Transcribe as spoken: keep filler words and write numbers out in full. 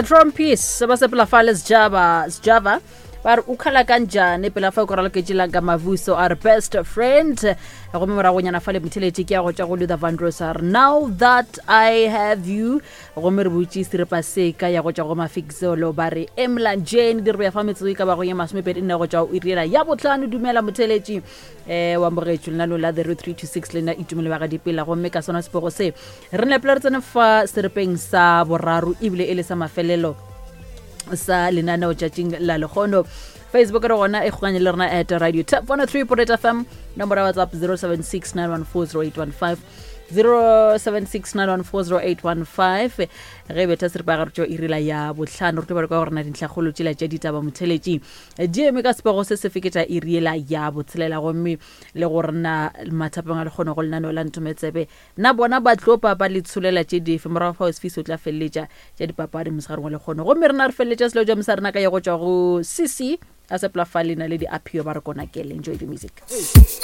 Trompies ba sepela fa le Sjava Sjava ba re o khala kanjane pela fa o ka raloketše la ka Mavuso a re best friend. Gomme moragonyana fa le motheletše ke ya go tšwa go Luther Vandross a re now that I have you. Gomme re butše seripa se ka ya go tšwa go Mafikizolo ba re Emlanjeni. Di re beya fa metsotso e ka bago ye masomepedi nne go tšwa go iri yela ya bohlano. Dumela motheletši um wa mogetšo lenaneo la The Road three two six le nna Itumelo ba ga Dipela. Gomme ka sona sepego se re nepela re tsene fa seripeng sa boraro ebile e le sa mafelelo sa lenaneo tšatšing la lekgono. Facebook re gona e kgokanye le rena at Radio Tap one oh three point eight F M, nomoro ya WhatsApp zero seven six nine one four zero eight one five, zero seven six nine one four zero eight one five. Ge betha seripa gare tšo irila ya bohlano re tlo ba re kwa gore na dintlhakgolo tšela tša ditaba motheletši di eme ka sepego se se feketša iriela ya botshelela. Gomme le gore na mathapeng a lekgono go lenaneo la Ntometsebe na bona ba tlo papa le tsholela tše dife morago fa Osifisi o tla feleletša tša dipapadi mosegareng wa lekgono. Gomme rena re feleletša selo ja mosarena ka ya go tšwa go C C a sepela fa lena le di-apio ba re kona kele. Enjoy the music. Hey.